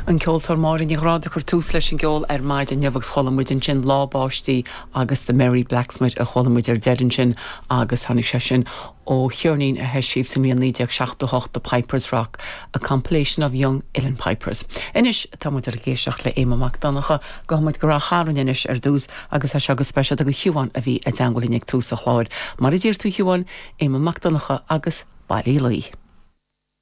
An ceoltóir Máire Ní Ghráda ag cur tús leis an gceol ar maidin inniu agus chuala muid ansin Lá Báistí agus The Merry Blacksmith a chuala muid ar deireadh ansin agus tháinig sé sin ó cheirnín a heisíodh sa mbliain 1978 The Pipers Rock, A Compilation of Young Uilleann Pipers. Anois tá muid ag éisteacht le Éamonn Mac Donncha, gabhfaidh muid go Rath Chairn anois ar dtús agus é seo go speisialta do Shiubhán a bhí i dteangmháil linn ag tús an chláir. Mar a d'iarr tú a Shiubháin, Éamonn Mac Donncha agus Baile Uí Laoi.